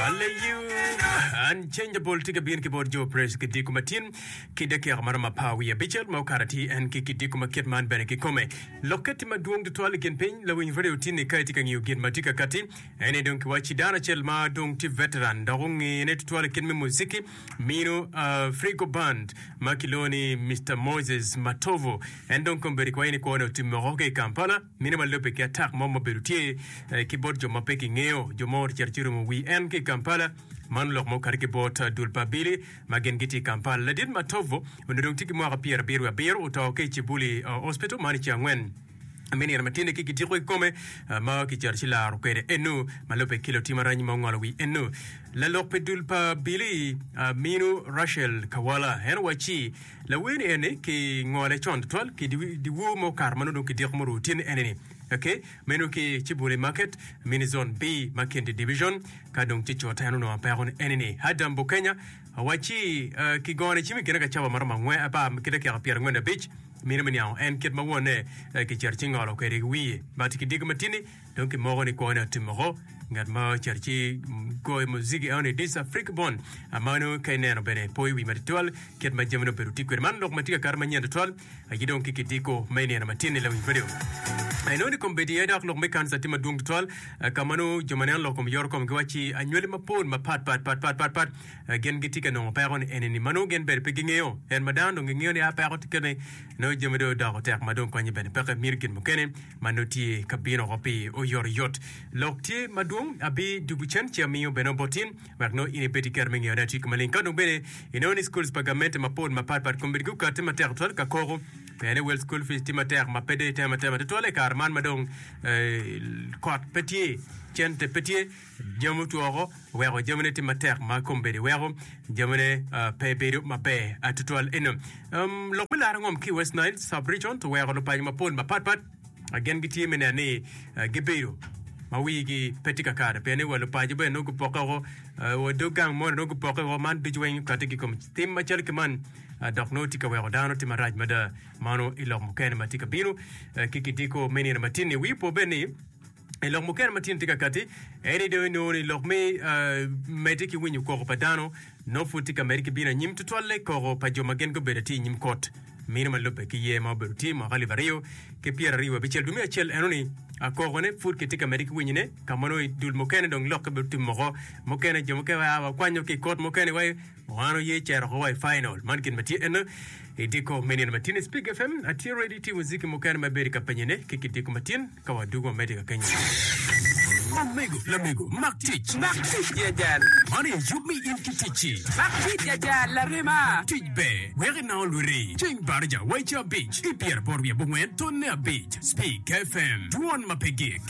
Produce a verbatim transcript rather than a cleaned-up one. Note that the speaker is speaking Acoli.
Hallelujah. Unchangeable tye ka bino ki bot Joe Press ki diko matin ki dakika maromo apar wiye abicel ma okato atir en ki kidiko ma kit man bene kikome. Lokke tye madwong tutwal i kin piny lawiny radio tin ni ka itye ka ngiyo gin ma tye ka kati en aye dong kiwacci dano acel ma dong tye veteran dok ongene tutwal i kit me muziki mino uh, Frigo Band ma kilwongo ni Mister Moses Matovu en dong kombeddi kiwaco ni kwone otimme woko ki i Kampala mino ma lubbe ki atak mo ma obedo tye eh, ki bot jo ma pe kingeyo jo mo ocito ci orumo wi en ki i Kampala Man lok ma okati ki bot dul pa abili ma gin gitye i Kampala. Ladit Matovu onongo dong tye ki mwaka pyerabiro wiye abiro, oto ki i Kibuli Hospital man i ceng angwen me nino matine ki kitiko i kome ma kicito ci laro kwede eno ma lubbe ki lutim aranyi ma ongolo wi eno. Lalok pi dul pa abili Aminu Rachel Kawala en owacci lawer ni eni ki ngole con tutwal ki dyewor ma okato ma nongo dong kidiko murumo tyene eni-ni. Ok, meno ki Kibuli Market, Mini Zone B, Makindye Division. Ka dong ci cut en onongo peko ni eni ni Adam Bukenya awacci uh, kigone cim i kine ka cawa maromo angwen apar ki dakika pyerangwen abic mine me niango en kit ma wonne eh, kicito ci ngolo kwede ki wiye but kidiko matini dong kimoko ni kwone otimoko ngat ma ocito ci goyo muziki eno ni This Africa Born amano ka ineno bene poyo wi matitwal kit ma jamine obedo tye kwede man lok ma tye ka kato manyen tutwal aye dong ki kidiko me nino matin-ni lawiny radio. Inongo ni kombeddi aye dok lok me kanisa tye madwong tutwal ka ma nongo jo ma neno lok kom yoro kom giwacci anywali mapol mapat pat pat pat pat pat gin gitye ka nongo peko ni eni-ni ma nongo gin bene pe gingeyo en ma dano dong gingeyo ni a peko tye kene nongo jami dong odoko tek ma dong konye bene peke mito gin mukene ma nongo tye ka bino oko pi oyotoyot. Lok tye madwong abidugu cen ci amiyo bene bot in wek nongo in ibed ki kero me ngeyone atika maleng. Ka dong bene inongo ni schools pa gamente mapol mapat pat kombeddi gukati matek tutwal ka koko pien ni wel school fees tye matek ma pe dong itemo atema tutwal i kare man ma dong kot pe tye, cente pe tye, jami otwo woko weko jamine tye matek ma kombeddi weko jamine pe bedo maber tutwal. Eno lok me laro ngom ki i West Nile sub region to weko lupaco mapol mapat pat Gin gitye me neno ni gibedo ma wigi pe tye kakare pien ni wa lupaco bene nongo gupokke woko, wa dog gang moni nongo gupokke woko. Man ducu weng okati ki i kom tim macalo ki man dok nongo tye ka weko dano tye marac mada. Mano i lok mukene ma tye ka bino ki kidiko me nino matin-ni. Wi opo bene ni i lok mukene ma tye ka kati en ni dong inongo ni lok me medde ki winyo koko pa dano nongo pud tye ka medde ki bino anyim tutwalle koko pa jo ma gin gubedo atir i nyim kot mino ma lubbe ki yer ma obedo tye i mwaka alip aryo ki pyeraryo abicel. Dwe me acel eno ni kokone pud kitye ka medde ki winyone ka ma nongo i dul mukene dong lokke bedo tye moko mukene jo mukene wa wakwanyo ki i kot mukene wa Wan oye cito oko wa i final. Man gin ma tye eno i diko me nino matin i Spig F M. Atye ready tye muziki mukene ma ibedo ka penyone ki kidiko matin ka wadugo wamedde ka kenyo. Omego, lamego, mak tic. Mak tic ya jal. Man aye yub me in ki ticci. Mak tic ya jal, larema. Tic ber, wek inango lwiti. Ceng baraja wa i ca abic, i pyeraboro wiye abongwen tonne abic. Spig F M, dwon ma pe gik.